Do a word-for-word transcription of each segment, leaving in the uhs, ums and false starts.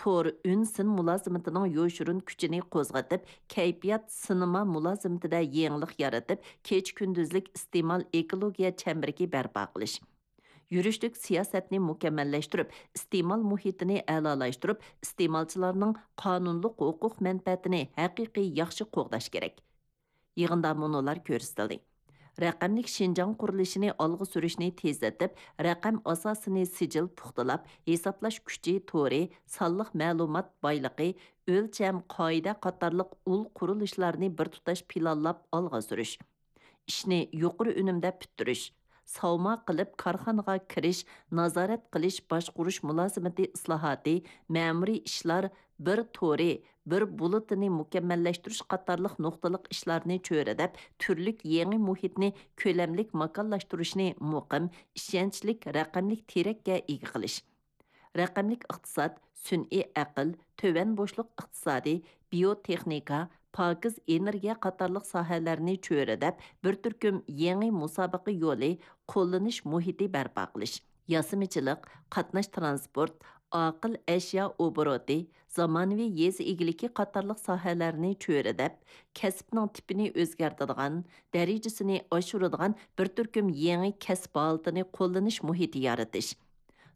تور ئۈن سىن مۇلازىمىتىنىڭ يوشۇرۇن كۈچىنى قوزغىتىپ، كەيپىيات سىنېما مۇلازىمىتىدە يېڭىلىق يارىتىپ، كېچە-كۈندۈزلۈك ئىستېمال ئېكولوگىيە چەمبىرىكى بەرپا قىلىش. يۈرۈشلۈك سىياسەتنى مۇكەممەللەشتۈرۈپ، ئىستېمال مۇھىتىنى ئەلالاشتۇرۇپ، ئىستېمالچىلارنىڭ قانۇنلۇق ھوقۇق مەنپەئەتىنى ھەقىقىي ياخشى قوغداش كېرەك. يىغىندا مۇنۇلار كۆرسىتىلدى: رەقەملىك شىنجاڭ قۇرۇلۇشىنى ئالغا سۈرۈشنى تېزلىتىپ، رەقەم ئاساسىنى سىجىل پۇختىلاپ، ھېسابلاش كۈچى تورى، سانلىق مەلۇمات بايلىقى، ئۆلچەم، قائىدە قاتارلىق ئۇل قۇرۇلۇشلارنى بىر تۇتاش پىلانلاپ ئالغا سۈرۈش. ئىشنى يۇقىرى ئۈنۈمدە پۈتتۈرۈش، ساۋما قىلىپ كارخانىغا كىرىش، نازارەت قىلىش، باشقۇرۇش مۇلازىمىتى ئىسلاھاتى، مەمۇرىي ئىشلار بىر تورى، بىر بولۇتىنى مۇكەممەللەشتۈرۈش قاتارلىق نۇقتىلىق ئىشلارنى چۆرىدەپ، تۈرلۈك يېڭى مۇھىتنى كۆلەملىك ماكانلاشتۇرۇشنى مۇقىم، ئىشەنچلىك رەقەملىك تىرەككە ئىگە قىلىش. رەقەملىك ئىقتىساد، سۈنئىي ئەقىل، تۆۋەن بوشلۇق ئىقتىسادى، بىيوتېخنىكا، پاكىز ئېنېرگىيە قاتارلىق ساھەلەرنى چۆرىدەپ، بىر تۈركۈم يېڭى مۇسابىقە يولى، قوللىنىش مۇھىتى بەرپا قىلىش، ياسىمىچىلىق، قاتناش ترانسپورت، ئاقىل ئەشيا ئوبوروتى، زامانىۋى يېزا ئىگىلىكى قاتارلىق ساھەلەرنى چۆرىدەپ، كەسىپنىڭ تىپىنى ئۆزگەرتىدىغان، دەرىجىسىنى ئاشۇرىدىغان بىر تۈركۈم يېڭى كەسىپ ھالىتىنى قوللىنىش مۇھىتى يارىتىش.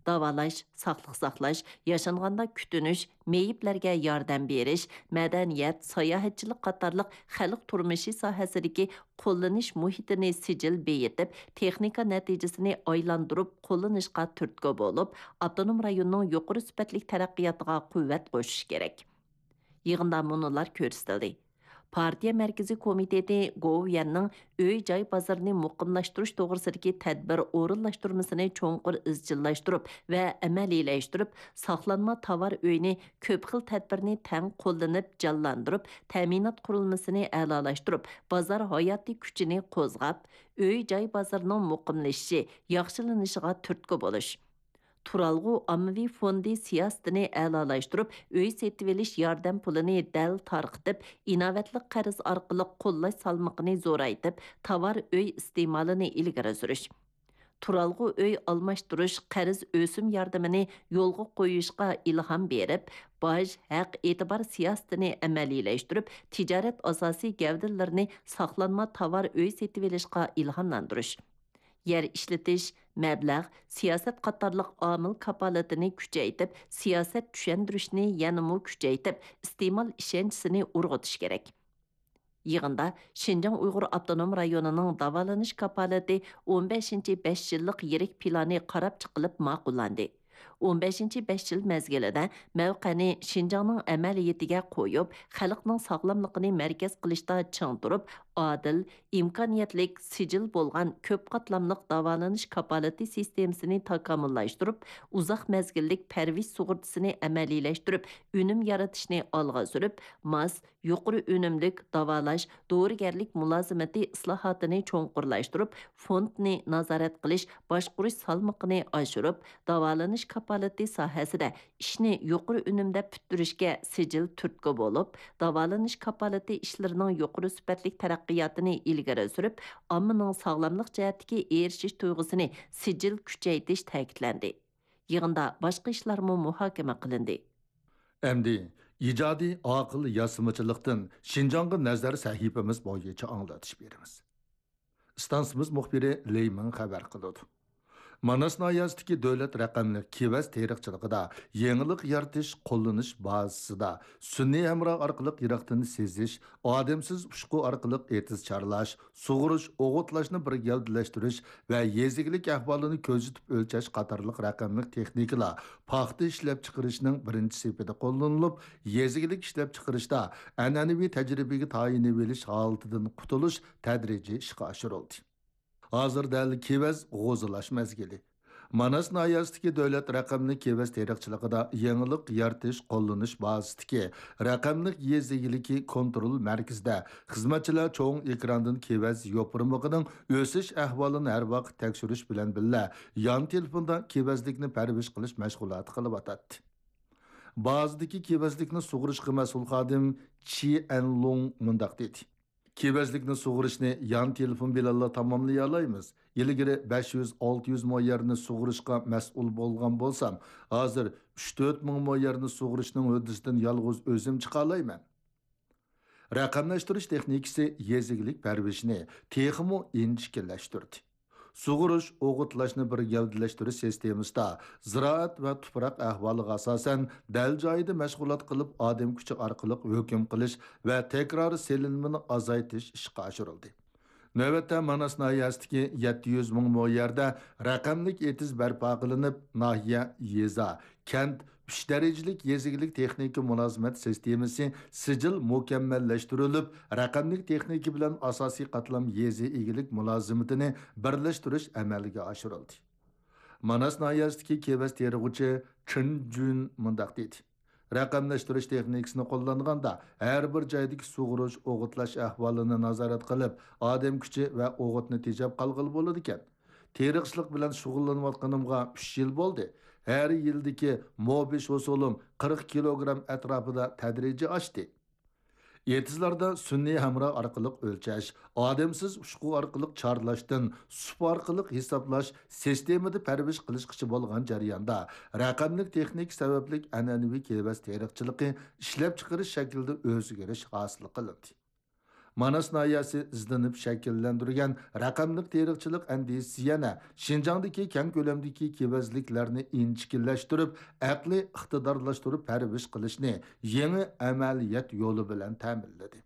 داۋالاش، ساقلىق ساقلاش، ياشانغاندا كۈتۈنۈش، مېيىپلەرگە ياردەم بېرىش، مەدەنىيەت، ساياھەتچىلىك قاتارلىق خەلق تۇرمۇشى ساھەسىدىكى قوللىنىش مۇھىتىنى سىجىل بېيىتىپ، تېخنىكا نەتىجىسىنى ئايلاندۇرۇپ قوللىنىشقا تۈرتكە بولۇپ، ئاپتونوم رايوننىڭ يۇقىرى سۈپەتلىك تەرەققىياتىغا قۇۋۋەت قوشۇش كېرەك. يىغىندا مۇنۇلار كۆرسىتىلدى: پارتىيە مەركىزىي كومىتېتى گوۋۇيۈەننىڭ ئۆي-جاي بازىرىنى مۇقىملاشتۇرۇش توغرىسىدىكى تەدبىر ئورۇنلاشتۇرمىسىنى چوڭقۇر ئىزچىللاشتۇرۇپ ۋە ئەمەلىيلەشتۈرۈپ، ساقلانما تاۋار ئۆيىنى كۆپ خىل تەدبىرنى تەڭ قوللىنىپ جانلاندۇرۇپ، تەمىنات قۇرۇلمىسىنى ئەلالاشتۇرۇپ، بازار ھاياتىي كۈچىنى قوزغاپ، ئۆي-جاي بازىرىنىڭ مۇقىملىشىشى، ياخشىلىنىشىغا تۈرتكە بولۇش. تۇرالغۇ ئاممىۋى فوندى سىياسىتىنى ئەلالاشتۇرۇپ، ئۆي سېتىۋېلىش ياردەم پۇلىنى دەل تارقىتىپ، ئىناۋەتلىك قەرز ئارقىلىق قوللاش سالمىقىنى زورايتىپ، تاۋار ئۆي ئىستېمالىنى ئىلگىرى سۈرۈش. تۇرالغۇ ئۆي ئالماشتۇرۇش قەرز ئۆسۈم ياردىمىنى يولغا قويۇشقا ئىلھام بېرىپ، باج، ھەق ئېتىبار سىياسىتىنى ئەمەلىيلەشتۈرۈپ، تىجارەت ئاساسىي گەۋدىلىرىنى ساقلانما تاۋار ئۆي سېتىۋېلىشقا ئىلھاملاندۇرۇش. يەر ئىشلىتىش، مەبلەغ، سىياسەت قاتارلىق ئامىل كاپالىتىنى كۈچەيتىپ، سىياسەت چۈشەندۈرۈشنى يەنىمۇ كۈچەيتىپ، ئىستېمال ئىشەنچىسىنى ئۇرغۇتۇش كېرەك. يىغىندا شىنجاڭ ئۇيغۇر ئاپتونوم رايونىنىڭ داۋالىنىش كاپالىتى ئون بەشىنچى بەش يىللىق يىرىك پىلانى قاراپ چىقىلىپ ماقۇللاندى. ئون بەشىنچى بەش يىل مەزگىلىدە مەۋقەنى شىنجاڭنىڭ ئەمەلىيىتىگە قويۇپ، خەلقنىڭ ساغلاملىقىنى مەركەز قىلىشتا چىڭ تۇرۇپ، ئادىل، ئىمكانىيەتلىك، سىجىل بولغان كۆپ قاتلاملىق داۋالىنىش كاپالىتى سىستېمىسىنى تاكامۇللاشتۇرۇپ، ئۇزاق مەزگىللىك پەرۋىش سۇغۇرتىسىنى ئەمەلىيلەشتۈرۈپ، ئۈنۈم يارىتىشنى ئالغا سۈرۈپ، ماس، يۇقىرى ئۈنۈملۈك داۋالاش، دورىگەرلىك مۇلازىمىتى ئىسلاھاتىنى چوڭقۇرلاشتۇرۇپ، فوندنى نازارەت قىلىش، باشقۇرۇش سالمىقىنى ئاشۇرۇپ، داۋالىنىش كاپالىتى ساھەسىدە ئىشنى يۇقىرى ئۈنۈمدە پۈتتۈرۈشكە سىجىل تۈرتكە بولۇپ، داۋالىنىش كاپالىتى ئىشلىرىنىڭ يۇقىرى سۈپەتلىك تەرەققىياتىنى ئىلگىرى سۈرۈپ، ئاممىنىڭ ساغلاملىق جەھەتتىكى ئېرىشىش تۇيغۇسىنى سىجىل كۈچەيتىش تەكىتلەندى. يىغىندا باشقا ئىشلارمۇ مۇھاكىمە قىلىندى. ئەمدى ئىجادىي ئاقىل ياسىمىچىلىقتىن شىنجاڭغا نەزەر سەھىپىمىز بويىچە ئاڭلىتىش بېرىمىز. ئىستانسىمىز مۇخبىرى لېي مىڭ خەۋەر قىلىدۇ. ماناس ناھىيەسىدىكى دۆلەت رەقەملىك كېۋەز تېرىقچىلىقىدا يېڭىلىق يارىتىش، قوللىنىش بازىسىدا سۈنئىي ھەمراھ ئارقىلىق يىراقتىن سېزىش، ئادەمسىز ئۇچقۇ ئارقىلىق ئېتىز چارلاش، سۇغۇرۇش، ئوغۇتلاشنى بىر گەۋدىلەشتۈرۈش ۋە يېزا ئىگىلىك ئەھۋالىنى كۆزىتىپ ئۆلچەش قاتارلىق رەقەملىك تېخنىكىلار پاختا ئىشلەپچىقىرىشنىڭ بىرىنچى سېپىدە قوللىنىلىپ، يېزا ئىگىلىك ئىشلەپچىقىرىشتا ئەنئەنىۋى تەجرىبىگە تايىنىۋېلىش ھالىتىدىن قۇتۇلۇش تەدرىجىي ئىشقا ئاشۇرۇلدى. ھازىر دەل كېۋەز غوزىلاش مەزگىلى. ماناس ناھىيەسىدىكى دۆلەت رەقەملىك كېۋەز تېرىقچىلىقىدا يېڭىلىق يارىتىش، قوللىنىش بازىسىدىكى رەقەملىك يېزا ئىگىلىكى كونترول مەركىزىدە خىزمەتچىلەر چوڭ ئېكراندىن كېۋەز يوپۇرمىقىنىڭ ئۆسۈش ئەھۋالىنى ھەر ۋاقىت تەكشۈرۈش بىلەن بىللە، يان تېلېفوندا كېۋەزلىكنى پەرۋىش قىلىش مەشغۇلاتى قىلىۋاتاتتى. بازىدىكى كېۋەزلىكنى سۇغۇرۇشقا مەسئۇل خادىم چى ئەنلۇڭ مۇنداق دېدى. كېۋەزلىكنى سۇغىرىشنى يان تېلېفون بىلەنلا تاماملىيالايمىز. ئىلگىرى بەش يۈز، ئالتە يۈز مو يەرنى سۇغىرىشقا مەسئۇل بولغان بولسام، ھازىر ئۈچ، تۆت مىڭ مو يەرنى سۇغىرىشنىڭ ھۆددىسىدىن يالغۇز ئۆزۈم چىقالايمەن. رەقەملەشتۈرۈش تېخنىكىسى يېزا ئىگىلىك پەرۋىشىنى تېخىمۇ ئىنچىكىلەشتۈردى. سۇغۇرۇش، ئوغۇتلاشنى بىر گەۋدىلەشتۈرۈش سىستېمىسىدا زىرائەت ۋە تۇپراق ئەھۋالىغا ئاساسەن، دەل جايىدا مەشغۇلات قىلىپ، ئادەم كۈچى ئارقىلىق ھۆكۈم قىلىش ۋە تەكرار سېلىنمىنى ئازايتىش ئىشقا ئاشۇرۇلدى. نۆۋەتتە ماناس ناھىيەسىدىكى يەتتە يۈز مىڭ مو يەردە رەقەملىك ئېتىز بەرپا قىلىنىپ، ناھىيە، يېزا، كەنت، ئۈچ دەرىجىلىك يېزا ئىگىلىك تېخنىكا مۇلازىمەت سىستېمىسى سىجىل مۇكەممەللەشتۈرۈلۈپ، رەقەملىك تېخنىكا بىلەن ئاساسىي قاتلام يېزا ئىگىلىك مۇلازىمىتىنى بىرلەشتۈرۈش ئەمەلگە ئاشۇرۇلدى. ماناس ناھىيەسىدىكى كېۋەز تېرىغۇچى چېن جۈن مۇنداق دېدى: رەقەملەشتۈرۈش تېخنىكىسىنى قوللانغاندا، ھەر بىر جايدىكى سۇغۇرۇش، ئوغۇتلاش ئەھۋالىنى نازارەت قىلىپ، ئادەم كۈچى ۋە ئوغۇتنى تېجەپ قالغىلى بولىدىكەن. تېرىقچىلىق بىلەن شۇغۇللىنىۋاتقىنىمغا ئۈچ يىل بولدى. ھەر يىلدىكى مو بېش ھوسۇلۇم قىرىق كىلوگرام ئەتراپىدا تەدرىجىي ئاشتى. ئېتىزلاردا سۈنئىي ھەمراھ ئارقىلىق ئۆلچەش، ئادەمسىز ئۇچقۇ ئارقىلىق چارلاشتىن سۇپا ئارقىلىق ھېسابلاش سىستېمىدا پەرۋىش قىلىشقىچە بولغان جەرياندا، رەقەملىك تېخنىكا سەۋەبلىك ئەنئەنىۋى كېۋەز تېرىقچىلىقى ئىشلەپچىقىرىش شەكلىدە ئۆزگىرىش ھاسىل قىلىندى. ماناس ناھىيەسى ئىزدىنىپ شەكىللەندۈرگەن رەقەملىك تېرىقچىلىق ئەندىزىسى يەنە شىنجاڭدىكى كەڭ كۆلەمدىكى كېۋەزلىكلەرنى ئىنچىكىلەشتۈرۈپ، ئەقلىي ئىقتىدارلاشتۇرۇپ پەرۋىش قىلىشنى يېڭى ئەمەلىيەت يولى بىلەن تەمىنلىدى.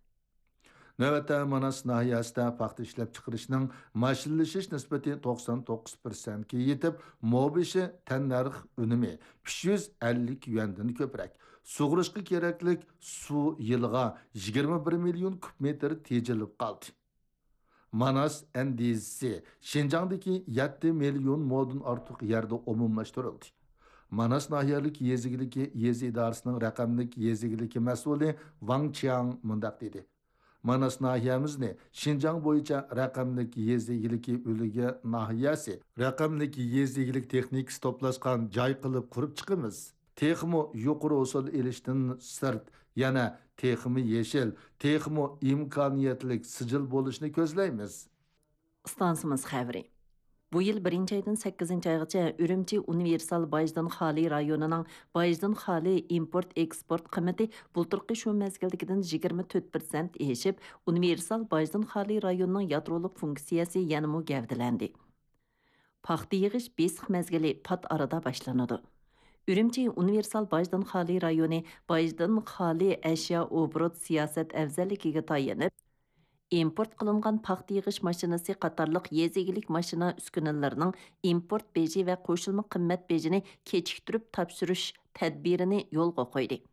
نۆۋەتتە ماناس ناھىيەسىدە پاختا ئىشلەپچىقىرىشنىڭ ماشىنىلىشىش نىسبىتى توقسان توققۇز پىرسەنتكە يېتىپ، مو بېشى تەننەرخ ئۈنۈمى ئۈچ يۈز ئەللىك يۈەندىن كۆپرەك، سۇغىرىشقا كېرەكلىك سۇ يىلىغا يىگىرمە بىر مىليون كۇب مېتىر تېجىلىپ قالدى. ماناس ئەندىزىسى شىنجاڭدىكى يەتتە مىليون مودىن ئارتۇق يەردە ئومۇملاشتۇرۇلدى. ماناس ناھىيەلىك يېزا ئىگىلىكى يېزا ئىدارىسىنىڭ رەقەملىك يېزا ئىگىلىكى مەسئۇلى ۋاڭ چياڭ مۇنداق دېدى: ماناس ناھىيەمىزنى شىنجاڭ بويىچە رەقەملىك يېزا ئىگىلىكى ئۈلگە ناھىيەسى، رەقەملىك يېزا ئىگىلىك تېخنىكىسى توپلاشقان جاي قىلىپ قۇرۇپ چىقىمىز. تېخىمۇ يۇقىرى ھوسۇل ئېلىشتىن سىرت، يەنە تېخىمۇ يېشىل، تېخىمۇ ئىمكانىيەتلىك سىجىل بولۇشنى كۆزلەيمىز. ئىستانسىمىز خەۋىرى. بۇ يىل بىرىنچى ئايدىن سەككىزىنچى ئايغىچە ئۈرۈمچى ئۇنىۋېرسال باجدىن خالىي رايونىنىڭ باجدىن خالىي ئىمپورت ئېكسپورت قىممىتى بۇلتۇرقى شۇ مەزگىلدىكىدىن يىگىرمە تۆت پىرسەنت ئېشىپ، ئۇنىۋېرسال باجدىن خالىي رايونىنىڭ يادرولۇق فۇنكسىيەسى يەنىمۇ گەۋدىلەندى. پاختا يىغىش بېسىق مەزگىلى پات ئارىدا باشلىنىدۇ. ئۈرۈمچى ئۇنىۋېرسال باجدىن خالىي رايونى باجدىن خالىي ئەشيا ئوبوروت سىياسەت ئەۋزەللىكىگە تايىنىپ، ئىمپورت قىلىنغان پاختا يىغىش ماشىنىسى قاتارلىق يېزا ئىگىلىك ماشىنا ئۈسكۈنىلىرىنىڭ ئىمپورت بېجى ۋە قوشۇلما قىممەت بېجىنى كېچىكتۈرۈپ تاپشۇرۇش تەدبىرىنى يولغا قويدى.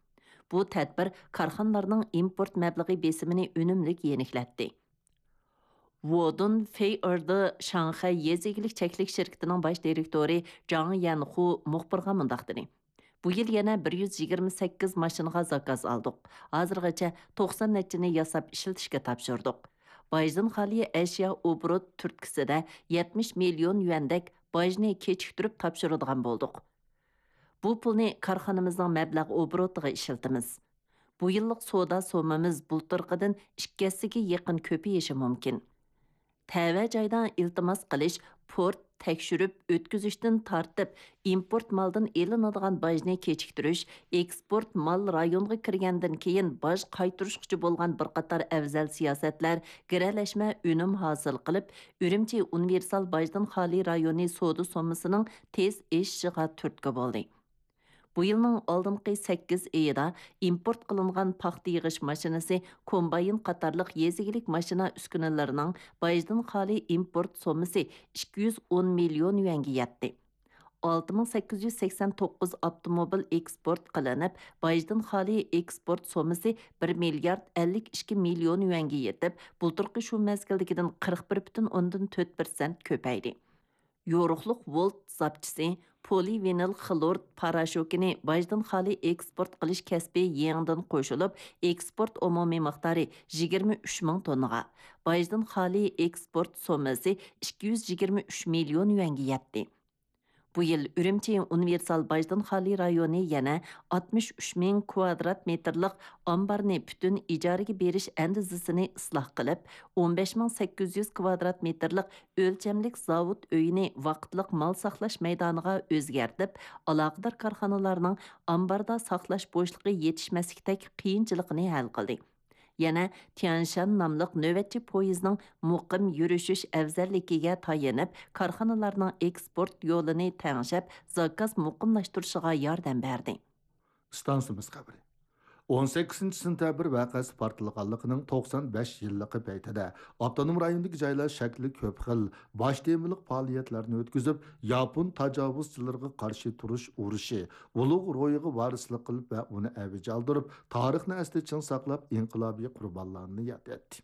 بۇ تەدبىر كارخانىلارنىڭ ئىمپورت مەبلىغى بېسىمىنى ئۈنۈملۈك يېنىكلەتتى. ۋودۇن فېي ئېردا شاڭخەي يېزا ئىگىلىك چەكلىك شىركىتىنىڭ باش دىرېكتورى جاڭ يەنخۇ مۇخبىرغا مۇنداق دېدى: بۇ يىل يەنە بىر يۈز يىگىرمە سەككىز ماشىنىغا زاكاز ئالدۇق. ھازىرغىچە توقسان نەچچىنى ياساپ ئىشلىتىشكە تاپشۇردۇق. باجدىن خالىي ئەشيا ئوبوروت تۈرتكىسىدە يەتمىش مىليون يۈەندەك باجنى كېچىكتۈرۈپ تاپشۇرىدىغان بولدۇق. بۇ پۇلنى كارخانىمىزنىڭ مەبلەغ ئوبوروتىغا ئىشلىتىمىز. بۇ يىللىق سودا سوممىمىز بۇلتۇرقىدىن ئىككى ھەسسىگە يېقىن كۆپىيىشى مۇمكىن. تەۋە جايدا ئىلتىماس قىلىش، پورت، تەكشۈرۈپ ئۆتكۈزۈشتىن تارتىپ، ئىمپورت مالدىن ئېلىنىدىغان باجنى كېچىكتۈرۈش، ئېكسپورت مال رايونغا كىرگەندىن كېيىن باج قايتۇرۇشقىچە بولغان بىر قاتار ئەۋزەل سىياسەتلەر گىرەلەشمە ئۈنۈم ھاسىل قىلىپ، ئۈرۈمچى ئۇنىۋېرسال باجدىن خالىي رايونى سودا سوممىسىنىڭ تېز ئېشىشىغا تۈرتكە بولدى. بۇ يىلنىڭ ئالدىنقى سەككىز ئېيىدا ئىمپورت قىلىنغان پاختا يىغىش ماشىنىسى، كومباين قاتارلىق يېزا ئىگىلىك ماشىنا ئۈسكۈنىلىرىنىڭ باجدىن خالىي ئىمپورت سوممىسى ئىككى يۈز ئون مىليون يۈەنگە يەتتى. ئالتە مىڭ سەككىز يۈز سەكسەن توققۇز ئاپتوموبىل ئېكسپورت قىلىنىپ، باجدىن خالىي ئېكسپورت سوممىسى بىر مىليارد ئەللىك ئىككى مىليون يۈەنگە يېتىپ، بۇلتۇرقى شۇ مەزگىلدىكىدىن قىرىق بىر پۈتۈن ئوندىن تۆت پىرسەنت كۆپەيدى. يورۇقلۇق ۋولت زاپچىسى، پولىۋىنىل خلور پاراشوكىنى باجدىن خالىي ئېكسپورت قىلىش كەسپى يېڭىدىن قوشۇلۇپ، ئېكسپورت ئومۇمىي مىقدارى يىگىرمە ئۈچ مىڭ توننىغا، باجدىن خالىي ئېكسپورت سوممىسى ئىككى يۈز يىگىرمە ئۈچ مىليون يۈەنگە يەتتى. بۇ يىل ئۈرۈمچى ئۇنىۋېرسال باجدىن خالىي رايونى يەنە ئاتمىش ئۈچ مىڭ كۋادرات مېتىرلىق ئامبارنى پۈتۈن ئىجارىگە بېرىش ئەندىزىسىنى ئىسلاھ قىلىپ، ئون بەش مىڭ سەككىز يۈز كۋادرات مېتىرلىق ئۆلچەملىك زاۋۇت ئۆيىنى ۋاقىتلىق مال ساقلاش مەيدانىغا ئۆزگەرتىپ، ئالاقىدار كارخانىلارنىڭ ئامباردا ساقلاش بوشلۇقى يېتىشمەسلىكتەك قىيىنچىلىقىنى ھەل قىلدى. يەنە تيەنشان ناملىق نۆۋەتچى پويىزنىڭ مۇقىم يۈرۈشۈش ئەۋزەللىكىگە تايىنىپ، كارخانىلارنىڭ ئېكسپورت يولىنى تەڭشەپ، زاكاز مۇقىملاشتۇرۇشىغا ياردەم بەردى. ئىستانسىمىز خەۋىرى. ئون سەككىزىنچى سېنتەبىر ۋەقەسى پارتلىغانلىقىنىڭ توقسان بەش يىللىقى پەيتىدە، ئاپتونوم رايوندىكى جايلار شەكلى كۆپ خىل باش تېمىلىق پائالىيەتلەرنى ئۆتكۈزۈپ، ياپون تاجاۋۇزچىلىرىغا قارشى تۇرۇش ئۇرۇشى ئۇلۇغ روھىغا ۋارىسلىق قىلىپ ۋە ئۇنى ئەۋج ئالدۇرۇپ، تارىخنى ئەستە چىڭ ساقلاپ، ئىنقىلابىي قۇربانلارنى ياد ئەتتى.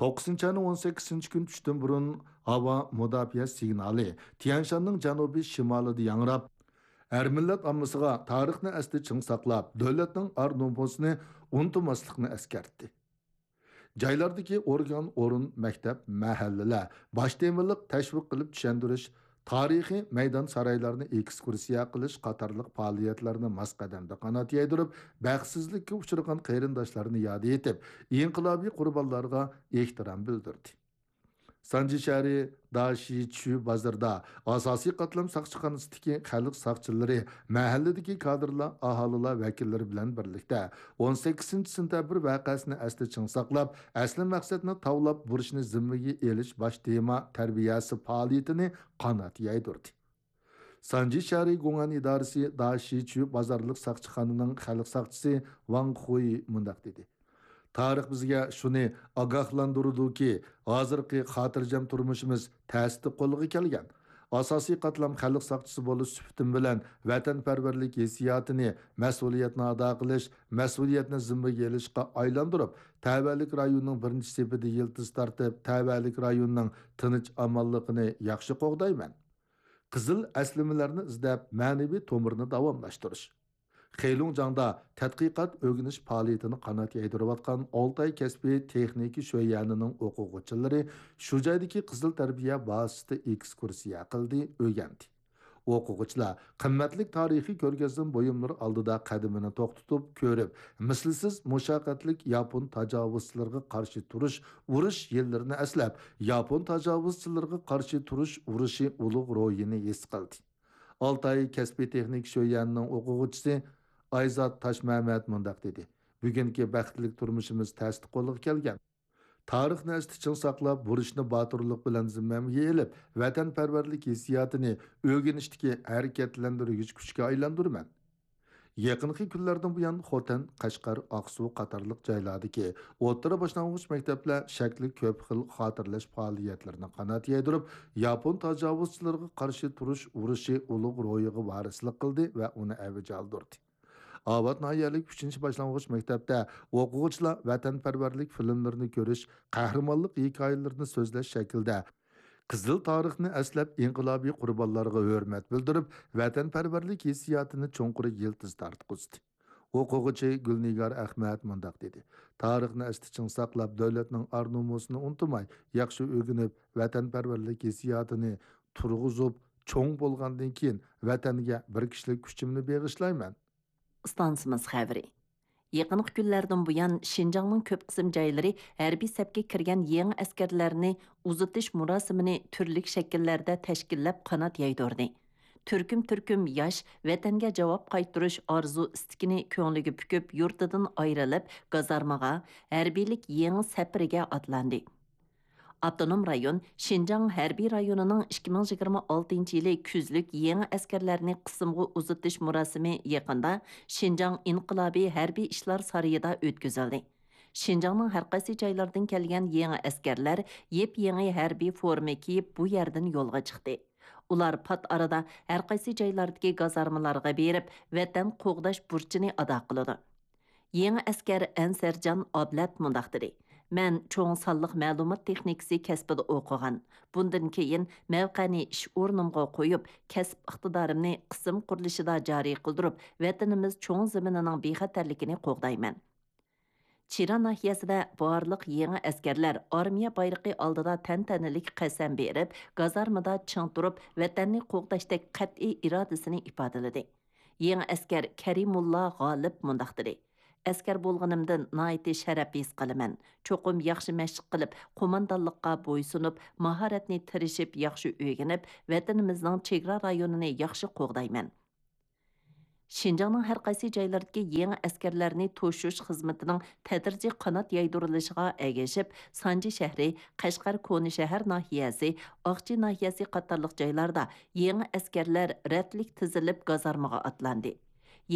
توققۇزىنچى ئاينىڭ ئون سەككىزىنچى كۈنى چۈشتىن بۇرۇن ھاۋا مۇداپىئە سىگنالى تيەنشاننىڭ جەنۇبىي شىمالىدا ياڭراپ، ھەر مىللەت ئاممىسىغا تارىخنى ئەستە چىڭ ساقلاپ، دۆلەتنىڭ ئار-نومۇسىنى ئۇنتۇماسلىقنى ئەسكەرتتى. جايلاردىكى ئورگان، ئورۇن، مەكتەپ، مەھەللىلەر باش تېمىلىق تەشۋىق قىلىپ چۈشەندۈرۈش، تارىخىي مەيدان، سارايلارنى ئېكسكۇرسىيە قىلىش قاتارلىق پائالىيەتلەرنى ماس قەدەمدە قانات يايدۇرۇپ، بەختسىزلىككە ئۇچرىغان قېرىنداشلارنى ياد ئېتىپ، ئىنقىلابىي قۇربانلارغا ئېھتىرام بىلدۈردى. سانجى شەھىرى داشىچۈ بازىرىدا ئاساسىي قاتلام ساقچىخانىسىدىكى خەلق ساقچىلىرى، مەھەللىدىكى كادىرلار، ئاھالىلەر ۋەكىللىرى بىلەن بىرلىكتە ئون سەككىزىنچى سېنتەبىر ۋەقەسىنى ئەستە چىڭ ساقلاپ، ئەسلى مەقسەتنى تاۋلاپ، بۇرچنى زىممىگە ئېلىش باش تېما تەربىيەسى پائالىيىتىنى قانات يايدۇردى. سانجى شەھىرى گۇڭئەن ئىدارىسى داشىچۈ بازارلىق ساقچىخانىنىڭ خەلق ساقچىسى ۋاڭ خۇي مۇنداق دېدى: تارىخ بىزگە شۇنى ئاگاھلاندۇرىدۇكى، ھازىرقى خاتىرجەم تۇرمۇشىمىز تەستە قولغا كەلگەن. ئاساسىي قاتلام خەلق ساقچىسى بولۇش سۈپىتىم بىلەن ۋەتەنپەرۋەرلىك ھېسسىياتىنى، مەسئۇلىيەتنى ئادا قىلىش، مەسئۇلىيەتنى زىممىگە ئېلىشقا ئايلاندۇرۇپ، تەۋەلىك رايوننىڭ بىرىنچى سېپىدە يىلتىز تارتىپ، تەۋەلىك رايوننىڭ تىنچ-ئامانلىقىنى ياخشى قوغدايمەن. قىزىل ئەسلىمىلەرنى ئىزدەپ، مەنىۋى تومۇرنى داۋاملاشتۇرۇش. خېلۇڭجاڭدا تەتقىقات ئۆگىنىش پائالىيىتىنى قانات يايدۇرۇۋاتقان ئالتاي كەسپىي تېخنىكا شۆيەنىنىڭ ئوقۇغۇچىلىرى شۇ جايدىكى قىزىل تەربىيە بازىسىدا ئېكسكۇرسىيە قىلدى، ئۆگەندى. ئوقۇغۇچىلار قىممەتلىك تارىخىي كۆرگەزمە بۇيۇملىرى ئالدىدا قەدىمىنى توختىتىپ كۆرۈپ، مىسلىسىز مۇشەققەتلىك ياپون تاجاۋۇزچىلىرىغا قارشى تۇرۇش ئۇرۇش يىللىرىنى ئەسلەپ، ياپون تاجاۋۇزچىلىرىغا قارشى تۇرۇش ئۇرۇشى ئۇلۇغ روھىنى ھېس قىلدى. ئالتاي كەسپىي تېخنىكا شۆيەنىنىڭ ئوقۇغۇچىسى ئايزات تاشمەمەت مۇنداق دېدى: بۈگۈنكى بەختلىك تۇرمۇشىمىز تەستە قولغا كەلگەن. تارىخنى ئەستە چىڭ ساقلاپ، بۇرچنى باتۇرلۇق بىلەن زىممەمگە ئېلىپ، ۋەتەنپەرۋەرلىك ھېسسىياتىنى ئۆگىنىشتىكى ھەرىكەتلەندۈرگۈچ كۈچكە ئايلاندۇرىمەن. يېقىنقى كۈنلەردىن بۇيان، خوتەن، قەشقەر، ئاقسۇ قاتارلىق جايلاردىكى ئوتتۇرا باشلانغۇچ مەكتەپلەر شەكلى كۆپ خىل خاتىرىلەش پائالىيەتلىرىنى قانات يايدۇرۇپ، ياپون تاجاۋۇزچىلىرىغا قارشى تۇرۇش ئۇرۇشى ئۇلۇغ روھىغا ۋارىسلىق قىلدى ۋە ئۇنى ئەۋج ئالدۇردى. ئاۋات ناھىيەلىك ئۈچىنچى باشلانغۇچ مەكتەپتە ئوقۇغۇچىلار ۋەتەنپەرۋەرلىك فىلىملىرىنى كۆرۈش، قەھرىمانلىق ھېكايىلىرىنى سۆزلەش شەكلىدە قىزىل تارىخنى ئەسلەپ، ئىنقىلابىي قۇربانلارغا ھۆرمەت بىلدۈرۈپ، ۋەتەنپەرۋەرلىك ھېسسىياتىنى چوڭقۇر يىلتىز تارتقۇزدى. ئوقۇغۇچى گۈلنىگار ئەخمەت مۇنداق دېدى: تارىخنى ئەستە چىڭ ساقلاپ، دۆلەتنىڭ ئار-نومۇسىنى ئۇنتۇماي، ياخشى ئۆگىنىپ، ۋەتەنپەرۋەرلىك ھېسسىياتىنى تۇرغۇزۇپ، چوڭ بولغاندىن كېيىن، ۋەتەنگە بىر كىشىلىك كۈچۈمنى بېغىشلايمەن. ئىستانسىمىز خەۋىرى. يېقىنقى كۈنلەردىن بۇيان، شىنجاڭنىڭ كۆپ قىسىم جايلىرى ھەربىي سەپكە كىرگەن يېڭى ئەسكەرلەرنى ئۇزىتىش مۇراسىمىنى تۈرلۈك شەكىللەردە تەشكىللەپ، قانات يايدۇردى. تۈركۈم-تۈركۈم ياش ۋەتەنگە جاۋاب قايتۇرۇش ئارزۇ-ئىستىكىنى كۆڭلىگە پۈكۈپ، يۇرتىدىن ئايرىلىپ، گازارمىغا، ھەربىيلىك يېڭى سەپىرىگە ئاتلاندى. ئاپتونوم رايون شىنجاڭ ھەربىي رايونىنىڭ ئىككى مىڭ يىگىرمە ئالتىنچى يىلى كۈزلۈك يېڭى ئەسكەرلەرنى قىسىمغا ئۇزىتىش مۇراسىمى يېقىندا شىنجاڭ ئىنقىلابىي ھەربىي ئىشلار سارىيىدا ئۆتكۈزۈلدى. شىنجاڭنىڭ ھەرقايسى جايلىرىدىن كەلگەن يېڭى ئەسكەرلەر يېپيېڭى ھەربىي فورما كىيىپ، بۇ يەردىن يولغا چىقتى. ئۇلار پات ئارىدا ھەرقايسى جايلاردىكى گازارمىلارغا بېرىپ، ۋەتەن قوغداش بۇرچىنى ئادا قىلىدۇ. يېڭى ئەسكەر ئەنسەرجان ئابلەت مۇنداق دېدى: مەن چوڭ سانلىق مەلۇمات تېخنىكىسى كەسپىدە ئوقۇغان. بۇندىن كېيىن مەۋقەنى ئىش ئورنۇمغا قويۇپ، كەسىپ ئىقتىدارىمنى قىسىم قۇرۇلۇشىدا جارى قىلدۇرۇپ، ۋەتىنىمىز چوڭ زېمىنىنىڭ بىخەتەرلىكىنى قوغدايمەن. چىرا ناھىيەسىدە بارلىق يېڭى ئەسكەرلەر ئارمىيە بايرىقى ئالدىدا تەنتەنىلىك قەسەم بېرىپ، گازارمىدا چىڭ تۇرۇپ، ۋەتەننى قوغداشتەك قەتئىي ئىرادىسىنى ئىپادىلىدى. يېڭى ئەسكەر كەرىمۇللا غالىپ مۇنداق دېدى: ئەسكەر بولغىنىمدىن ناھايىتى شەرەپ ھېس قىلىمەن. چوقۇم ياخشى مەشىق قىلىپ، قوماندانلىققا بويسۇنۇپ، ماھارەتنى تىرىشىپ ياخشى ئۆگىنىپ، ۋەتىنىمىزنىڭ چېگرا رايونىنى ياخشى قوغدايمەن. شىنجاڭنىڭ ھەر قايسى جايلىرىدىكى يېڭى ئەسكەرلەرنى توشۇش خىزمىتىنىڭ تەدرىجىي قانات يايدۇرۇلۇشىغا ئەگىشىپ، سانجى شەھىرى، قەشقەر كونا شەھەر ناھىيەسى، ئاقچى ناھىيەسى قاتارلىق جايلاردا يېڭى ئەسكەرلەر رەتلىك تىزىلىپ گازارمىغا ئاتلاندى.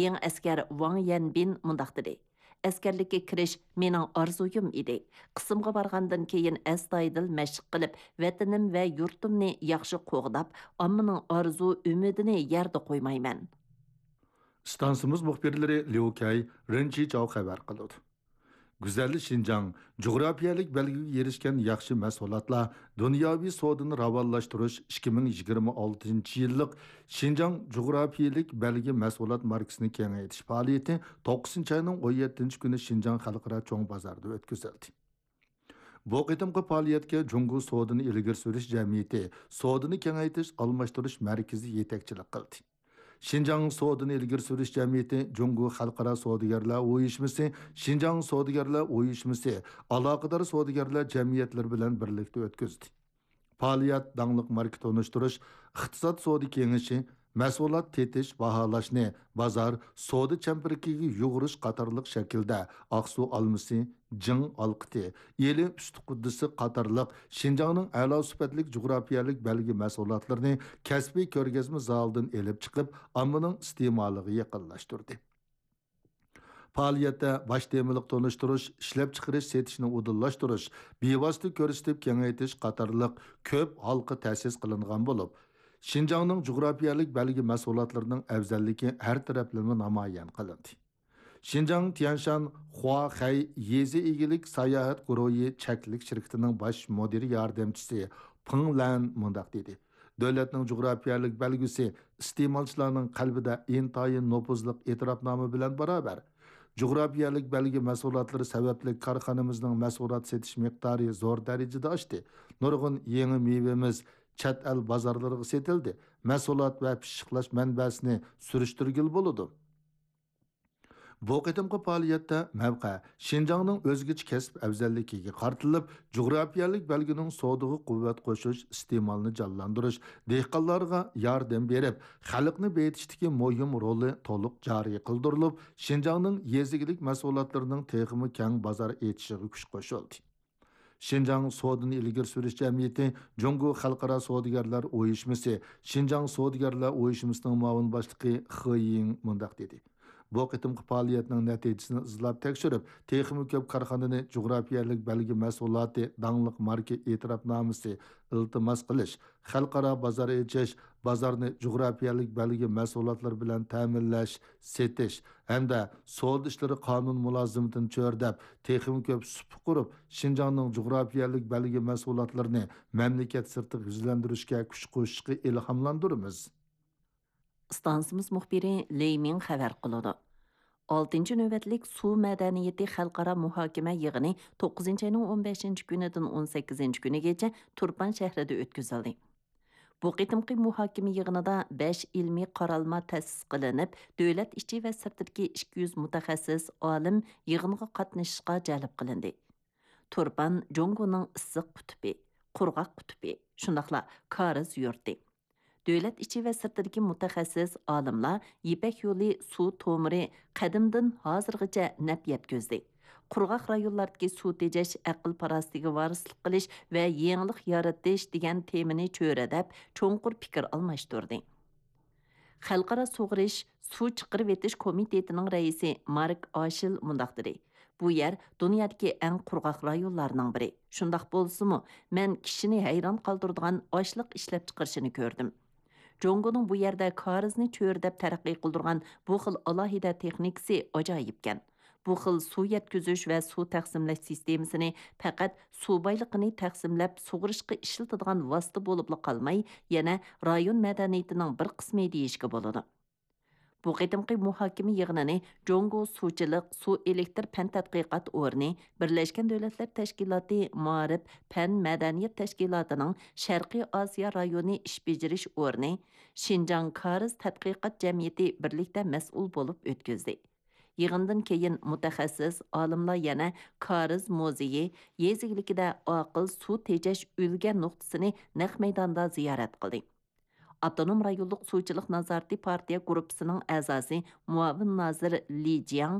يېڭى ئەسكەر ۋاڭ يەنبىن مۇنداق دېدى: ئەسكەرلىككە كىرىش مېنىڭ ئارزۇيۇم ئىدى. قىسىمغا بارغاندىن كېيىن ئەستايىدىل مەشىق قىلىپ، ۋەتىنىم ۋە يۇرتۇمنى ياخشى قوغداپ، ئاممىنىڭ ئارزۇ ئۈمىدىنى يەردە قويمايمەن. ئىستانسىمىز مۇخبىرلىرى ليۇ كەي، رېن چىچاۋ خەۋەر قىلىدۇ. گۈزەل شىنجاڭ، جۇغراپىيەلىك بەلگىگە ئېرىشكەن ياخشى مەھسۇلاتلار دۇنياۋى سودىنى راۋانلاشتۇرۇش ئىككى مىڭ يىگىرمە ئالتىنچى يىللىق شىنجاڭ جۇغراپىيەلىك بەلگە مەھسۇلات ماركىسىنى كېڭەيتىش پائالىيىتى توققۇزىنچى ئاينىڭ ئون يەتتىنچى كۈنى شىنجاڭ خەلقئارا چوڭ بازاردا ئۆتكۈزۈلدى. بۇ قېتىمقى پائالىيەتكە جۇڭگو سودىنى ئىلگىرى سۈرۈش جەمئىيىتى، سودىنى كېڭەيتىش ئالماشتۇرۇش مەركىزى يېتەكچىلىك قىلدى. شىنجاڭ سودىنى ئىلگىرى سۈرۈش جەمئىيىتى جۇڭگو خەلقئارا سودىگەرلەر ئۇيۇشمىسى، شىنجاڭ سودىگەرلەر ئۇيۇشمىسى، ئالاقىدار سودىگەرلەر جەمئىيەتلىرى بىلەن بىرلىكتە ئۆتكۈزدى. پائالىيەت داڭلىق ماركا تونۇشتۇرۇش، ئىقتىساد سودا كېڭىشى، مەھسۇلات تېتىش، باھالاشنى، بازار، سودا چەمپىرىكىگە يۇغۇرۇش قاتارلىق شەكىلدە ئاقسۇ ئالمىسى، جىڭ ئالقىتى، ئىلى ئۈستى قۇددىسى قاتارلىق شىنجاڭنىڭ ئەلا سۈپەتلىك جۇغراپىيەلىك بەلگە مەھسۇلاتلىرىنى كەسپىي كۆرگەزمە زالىدىن ئېلىپ چىقىپ، ئاممىنىڭ ئىستېمالىغا يېقىنلاشتۇردى. پائالىيەتتە باش تېمىلىق تونۇشتۇرۇش، ئىشلەپچىقىرىش، سېتىشنى ئۇدۇللاشتۇرۇش، بىۋاسىتە كۆرسىتىپ كېڭەيتىش قاتارلىق كۆپ ھالقا تەسىس قىلىنغان بولۇپ، شىنجاڭنىڭ جۇغراپىيەلىك بەلگە مەھسۇلاتلىرىنىڭ ئەۋزەللىكى ھەر تەرەپلىمە نامايان قىلىندى. شىنجاڭ تيەنشان خۇاخەي يېزا ئىگىلىك ساياھەت گۇرۇھى چەكلىك شىركىتىنىڭ باش مۇدىر ياردەمچىسى پېڭ لەن مۇنداق دېدى: دۆلەتنىڭ جۇغراپىيەلىك بەلگىسى ئىستېمالچىلارنىڭ قەلبىدە ئىنتايىن نوپۇزلۇق ئېتىراپنامە بىلەن باراۋەر. جۇغراپىيەلىك بەلگە مەھسۇلاتلىرى سەۋەبلىك كارخانىمىزنىڭ مەھسۇلات سېتىش مىقدارى زور دەرىجىدە ئاشتى. نۇرغۇن يېڭى مېۋىمىز چەت ئەل بازارلىرىغا سېتىلدى. مەھسۇلات ۋە پىششىقلاش مەنبەسىنى سۈرۈشتۈرگىلى بولىدۇ. بۇ قېتىمقى پائالىيەتتە مەۋقە شىنجاڭنىڭ ئۆزگىچە كەسىپ ئەۋزەللىكىگە قارىتىلىپ، جۇغراپىيەلىك بەلگىنىڭ سودىغا قۇۋۋەت قوشۇش، ئىستېمالنى جانلاندۇرۇش، دېھقانلارغا ياردەم بېرىپ، خەلقنى بېيىتىشتىكى مۇھىم رولى تولۇق جارى قىلدۇرۇلۇپ، شىنجاڭنىڭ يېزا ئىگىلىك مەھسۇلاتلىرىنىڭ تېخىمۇ كەڭ بازار ئېچىشىغا كۈچ قوشۇلدى. شىنجاڭ سودىنى ئىلگىرى سۈرۈش جەمئىيىتى، جۇڭگو خەلقئارا سودىگەرلەر ئۇيۇشمىسى، شىنجاڭ سودىگەرلەر ئۇيۇشمىسىنىڭ مۇئاۋىن باشلىقى خې يىڭ مۇنداق دېدى: بۇ قېتىمقى پائالىيەتنىڭ نەتىجىسىنى ئىزدەپ تەكشۈرۈپ، تېخىمۇ كۆپ كارخانىنى جۇغراپىيەلىك بەلگە مەھسۇلاتى داڭلىق ماركا ئېتىراپنامىسى ئىلتىماس قىلىش، خەلقئارا بازار ئېچىش، بازارنى جۇغراپىيەلىك بەلگە مەھسۇلاتلىرى بىلەن تەمىنلەش، سېتىش ھەمدە سودا ئىشلىرى قانۇن مۇلازىمىتىنى چۆرىدەپ، تېخىمۇ كۆپ سۇپا قۇرۇپ، شىنجاڭنىڭ جۇغراپىيەلىك بەلگە مەھسۇلاتلىرىنى مەملىكەت سىرتىغا يۈزلەندۈرۈشكە كۈچ قوشۇشقا ئىلھاملاندۇرىمىز. ئىستانسىمىز مۇخبىرى لېي مىڭ خەۋەر قىلىدۇ. ئالتىنچى نۆۋەتلىك سۇ مەدەنىيىتى خەلقئارا مۇھاكىمە يىغىنى توققۇزىنچى ئاينىڭ ئون بەشىنچى كۈنىدىن ئون سەككىزىنچى كۈنىگىچە تۇرپان شەھىرىدە ئۆتكۈزۈلدى. بۇ قېتىمقى مۇھاكىمە يىغىنىدا بەش ئىلمىي قارالما تەسىس قىلىنىپ، دۆلەت ئىچى ۋە سىرتىدىكى ئىككى يۈز مۇتەخەسسىس ئالىم يىغىنغا قاتنىشىشقا جەلپ قىلىندى. تۇرپان جۇڭگونىڭ ئىسسىق قۇتۇپى، قۇرغاق قۇتۇپى، شۇنداقلا كارىز يۇرتى. دۆلەت ئىچى ۋە سىرتىدىكى مۇتەخەسسىس ئالىملار يىپەك يولى سۇ تومۇرى قەدىمدىن ھازىرغىچە نەپ يەتكۈزدى. قۇرغاق رايونلاردىكى سۇ تېجەش، ئەقىل-پاراسىتىگە ۋارىسلىق قىلىش ۋە يېڭىلىق يارىتىش دېگەن تېمىنى چۆرىدەپ، چوڭقۇر پىكىر ئالماشتۇردى. خەلقئارا سۇغىرىش، سۇ چىقىرىۋېتىش كومىتېتىنىڭ رەئىسى مارك ئاشىل مۇنداق دېدى: بۇ يەر دۇنيادىكى ئەڭ قۇرغاق رايونلارنىڭ بىرى. شۇنداق بولسىمۇ، مەن كىشىنى ھەيران قالدۇرىدىغان ئاشلىق ئىشلەپچىقىرىشىنى كۆردۈم. جۇڭگونىڭ بۇ يەردە كارىزنى چۆرىدەپ تەرەققىي قىلدۇرغان بۇ خىل ئالاھىدە تېخنىكىسى ئاجايىپكەن. بۇ خىل سۇ يەتكۈزۈش ۋە سۇ تەقسىملەش سىستېمىسىنى پەقەت سۇ بايلىقىنى تەقسىملەپ سۇغىرىشقا ئىشلىتىدىغان ۋاسىتە بولۇپلا قالماي، يەنە رايون مەدەنىيىتىنىڭ بىر قىسمى دېيىشكە بولىدۇ. بۇ قېتىمقى مۇھاكىمە يىغىنىنى جۇڭگو سۇچىلىق سۇ ئېلېكتىر پەن تەتقىقات ئورنى، بىرلەشكەن دۆلەتلەر تەشكىلاتى مائارىپ پەن مەدەنىيەت تەشكىلاتىنىڭ شەرقىي ئاسىيا رايونى ئىش بېجىرىش ئورنى، شىنجاڭ كارىز تەتقىقات جەمئىيىتى بىرلىكتە مەسئۇل بولۇپ ئۆتكۈزدى. يىغىندىن كېيىن مۇتەخەسسىس ئالىملار يەنە كارىز مۇزېيى، يېزا ئىگىلىكىدە ئاقىل سۇ تېجەش ئۈلگە نۇقتىسىنى نەق مەيداندا زىيارەت قىلدى. ئاپتونوم رايونلۇق سۇچىلىق نازارىتى پارتىيە گۇرۇپپىسىنىڭ ئەزاسى، مۇئاۋىن نازىر لى جياڭ